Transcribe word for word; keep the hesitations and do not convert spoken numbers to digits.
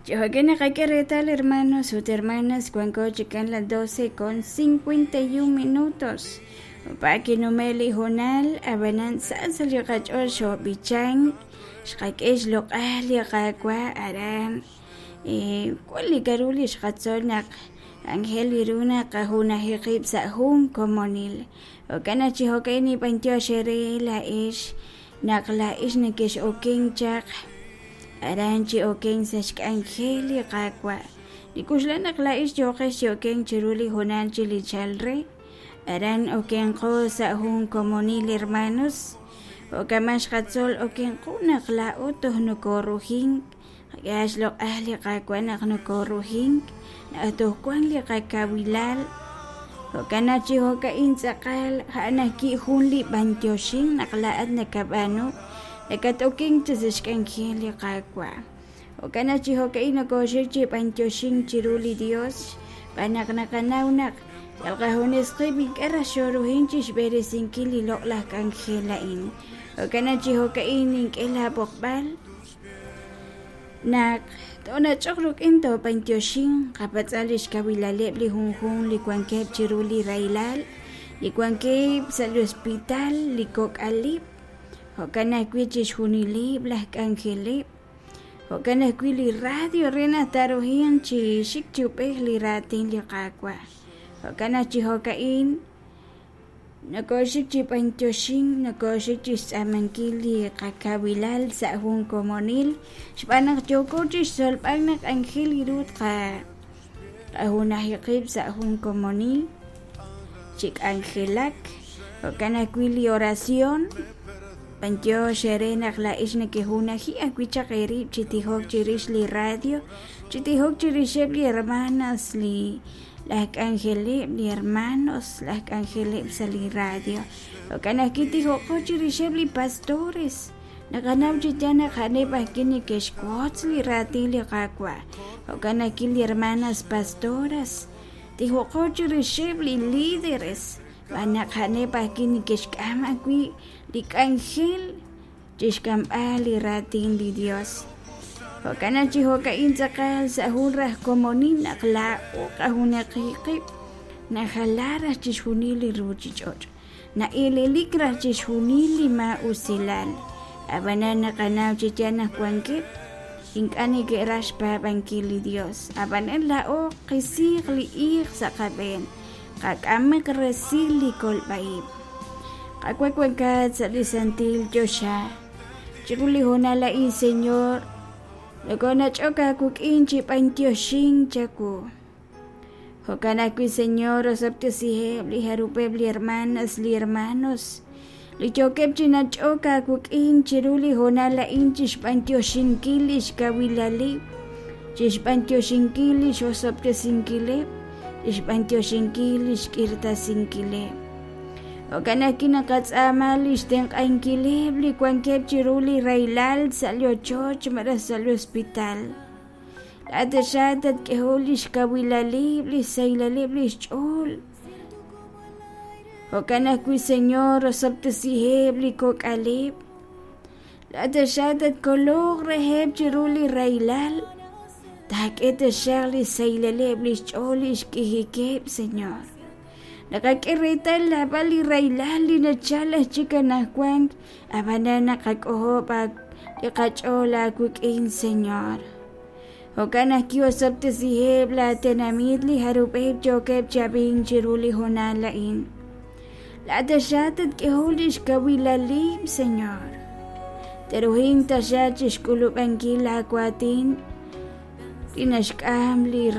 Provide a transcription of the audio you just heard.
Chijo'kan naqak'e reetal, hermanos ut hermanas, wanko chikan las doce con cincuenta y un minutos. Pa kinume' li hoonal ab'anan sa sa' li qach'ool xob'ichan xqak'e xloq'al li Qaawa' aran wan li k'a'ru li xqatzol naq ángel iru naq qajunaji qib' sa' jun komonil. Jo'kan naq chi jo'ka'in nib'antiox eere laa'ex naq laa'ex nekex'oken chaq aran chi oken sa' xk'anjel li Qaawa'. Nikuxla naq laa'ex yooqex chi oken chiru li hoonal chi li chal re aran okenqo sa' jun komonil, hermanos. Jo'kan xqatzol okenqo naq laa'o toj nokorujink qak'e xloq'al li Qaawa' naq nokorujink naq toj wan li qakawilal. Jo'kan naq chi jo'ka'in tz'aqal ja'an ajwi' jun li b'antioxin naq laa'at nakab'aanu nakat'oken chi sa' xk'anjel li Qaawa'. Jo'kan naq chi jo'ka'in nokoxik chi b'antioxin chiru li Dios xb'aan naq naqanaw naq yal qajunes qib' ink'a' raj xorujin chi xb'eresinkil li loq'laj k'anjel a'in. Jo'kan naq chi jo'ka'in nink'e laab'oqb'al naq toonach'oq rik'in toob'antioxin qapatz'al li xkawilaleb' li junjunq li wankeb' chiru li rahilal, li wankeb' sa' li hospital, li kok'alib', jo'kan ajwi' chixjunileb' laj k'anjeleb', jo'kan ajwi' li radio re naq taarujin chi xik chi ub'ej li raatin li Qaawa'. Jo'kan naq chi jo'ka'in nokoxik chi b'antioxin, nokoxik chi xtz'aamankil li qakawilal sa' jun komonil xb'aan naq yooko chi xtzolb'al naq ángel iru tqa qajunaji qib' sa' jun komonil chi k'anjelak. Jo'kan ajwi' li oración b'antiox eere naq laa'ex nekejunaji ajwi' chaq eerib' chi tijok chirix li radio, chi tijok chirixeb' li hermanas, li laj k'anjeleb', li hermanos, laj k'anjeleb' sa' li radio. Jo'kan ajwi' tijoqo chirixeb' li pastores. Naqanaw chi yaal naq a'aneb' ajwi' neke'xwotz li raatin li Qaawa'. Jo'kan ajwi' li hermanas pastoras. Tijoqo chirixeb' li líderes. Xb'aan naq a'aneb' ajwi' neke'xk'am ajwi' li k'anjel chixk'amb'al li raatin li Dios. Jo'kan naq chi jo'ka'in tz'aqal sa' jun raj komonil naq laa'o qajunaqi qib' najala raj chixjunil li ruuchich'och', na'elelik raj chixjunil li maa'usilal. Ab'anan naqanaw chi yaal naq wankeb' ink'a' neke'raj xpaab'ankil li Dios. Ab'anan laa'o qisiiq li iiq sa' qab'een, qak'amaq resil li kolb'a'ib'. Qaawa' wankat sa' li santil choxa. Chiru li hoonal a'in, Señor, nokonach'ok aawik'in chi b'antioxin chawu. Jo'kan ajwi', Señor, osob'tesiheb' li jarub'eb' li hermanas, li hermanos, li yookeb' chi nach'ok aawik'in chiru li hoonal a'in chi xb'antioxinkil li xkawilalib', chi xb'antioxinkil li xosob'tesinkileb', chi xb'antioxinkil li xk'irtasinkileb'. Jo'kan ajwi' naqatz'aama li xtenq'ankileb' li wankeb' chiru li rahilal sa' li ochoch malaj sa' li hospital. Laa'at tatk'eho li xkawilalib', li xsaylaleb' li xch'ool. Jo'kan ajwi', Señor, osob'tesiheb' li kok'aleb'. Laa'at tatkoloq reheb' chiru li rahilal. Taak'e taxaq li xsaylaleb' li xch'ool li xk'ijikeb', Señor. Naqak'e reetal laab'al li rahilal li nachal aj chik anajwan, ab'anan naqak'ojob' li qach'ool aawik'in, Señor. Jo'kan ajwi' osob'tesiheb' laatenamit li jarub'eb' yookeb' chi ab'ink chiru li hoonal a'in. Laa'at tatk'eho li xkawilalib', Señor. Teruhin taxaq chi xk'ulub'ankil laawaatin li naxk'am li